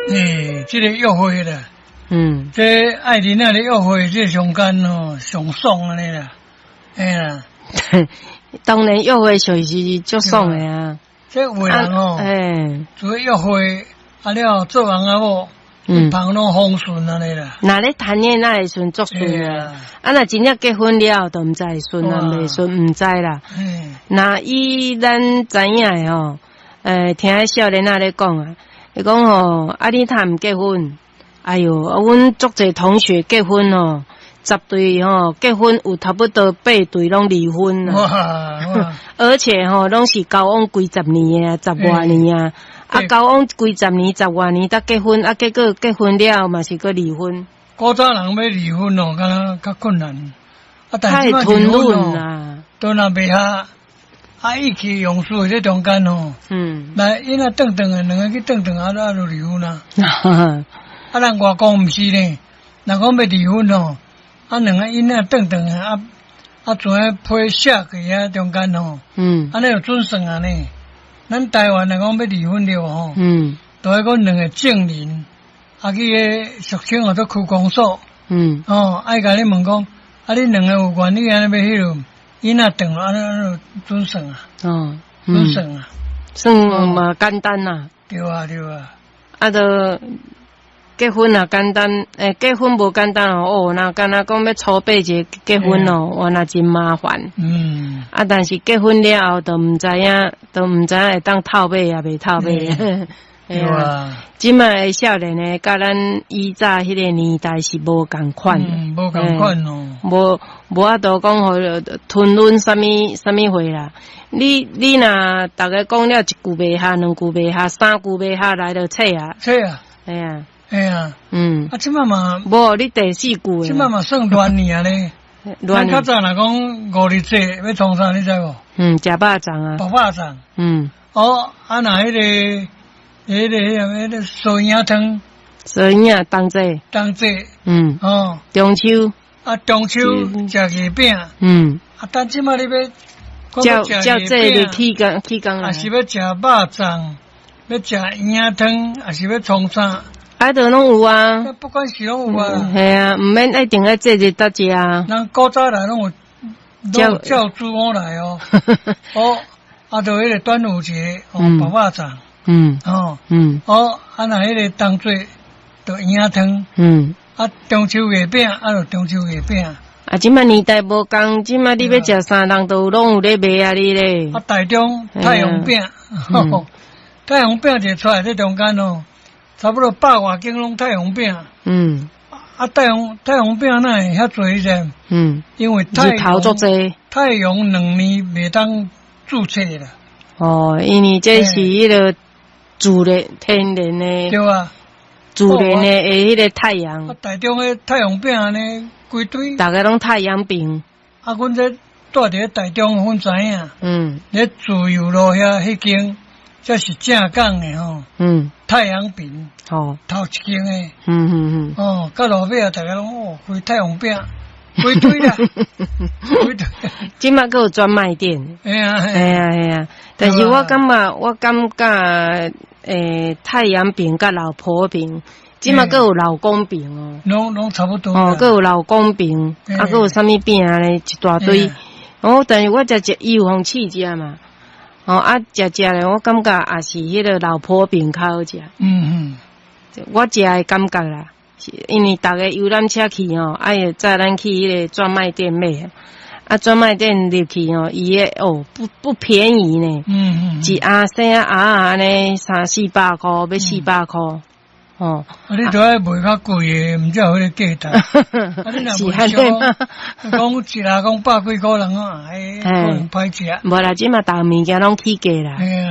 欸，這個約會啦，這愛玲仔咧約會，這上間哦，上爽按呢啦，嘿啦。當然約會就是足爽的啊。這有的人哦，除了約會，啊了做翁仔某，旁攏風順按呢啦。若咧談戀愛的時陣足順啊，啊若真正結婚了後，就毋知會順啊袂順，毋知啦。若以咱知影的吼，聽彼少年仔咧講啊，伊講吼，啊你趁毋結婚？哎喲，阮足濟同學結婚吼，10對吼結婚有差不多8對攏離婚啦。而且吼，攏是交往幾十年的啊，十外年啊，啊交往幾十年、十外年才結婚，啊結果結婚了嘛是閣離婚。古早人欲離婚哦，敢若較困難。啊，但是太吞忍啦，都若袂合，啊意氣用事這中間吼，來𪜶若轉轉的，兩个去轉轉啊，啊就離婚啊。啊，咱外國毋是呢，若講欲離婚吼，啊兩个𪜶仔轉轉的，啊啊像彼批寫過遐中間吼，按呢就準算啊呢。咱台灣若講欲離婚了吼，都愛講兩个證人，啊去彼俗稱號做區公所，哦，愛共你問講，啊恁兩个有願意按呢欲彼落，𪜶仔轉按呢按呢準算啊，準算啊，算嘛簡單啦。對啊對啊。啊，就結婚也簡單，欸，結婚無簡單哦，哦，若敢若講欲籌備一個結婚哦，原來真麻煩。啊，但是結婚了後，就毋知影，就毋知影會當透尾抑袂透尾。對啊。這擺的少年的，佮咱以早彼個年代是無仝款。嗯，無仝款哦。無法度講予吞忍啥物啥物貨啦。你若逐家講了一句袂合，兩句袂合，三句袂合來就切啊。切啊。嘿啊。嘿啊。啊，這擺嘛。無，你第四句。這擺嘛算亂年啊咧。咱較早若講五日節欲創啥，你知無？嗯，食肉粽啊。白肉粽。哦，啊，若彼個素圓仔湯。素圓仔冬至。冬至。哦。中秋。啊，中秋食月餅。啊，但這擺你欲照照這日起工起工啊，是欲食肉粽，欲食圓仔湯，抑是欲創啥？啊，都攏有啊。不管是攏有啊。嘿啊，毋免一定愛節日才食啊。咱古早來攏有，攏有照煮好來哦。哦，啊，就彼個端午節，哦，白肉粽。哦。哦，啊，若彼個冬至，就圓仔湯。啊，中秋月餅，啊，就中秋月餅。啊，這擺年代無仝，這擺你欲食啥，人都攏有咧賣啊，你咧。啊，台中太陽餅，太陽餅一出來，這中間哦，差不多百外間攏太陽餅。啊，太陽餅哪會遐濟呢？因為太陽足濟。太陽2年袂當註冊啦。哦，因為這是彼個自然天然的。對啊。自然的彼個太陽。啊，台中的太陽餅按呢，規堆。逐家攏太陽餅。啊，阮這蹛佇咧台中，阮知影。咧自由路遐彼間，這是正港的吼。太陽餅。頭一間的。哦，到路尾啊，逐家攏哦，規太陽餅，規堆啦，規堆。這擺閣有專賣店。嘿啊。嘿啊嘿啊，但是我感覺，太陽餅佮老婆餅，這擺閣有老公餅哦。攏差不多。哦，閣有老公餅，啊，閣有啥物餅啊咧，一大堆。哦，但是我食食，伊有予試食嘛。哦，啊，食食咧，我感覺也是彼個老婆餅較好食。我食的感覺啦，是因為逐家遊覽車去吼，啊，會載咱去彼個專賣店買。啊，專賣店入去吼，伊个哦不便宜呢。一盒生仔盒按呢三四百箍，欲四百箍。哦。啊，你都愛賣較貴的，毋才有彼個價值。啊，你若賣俗，講一盒講百幾箍人啊，哎，可能歹食。無啦，這馬逐個物件攏起價啦。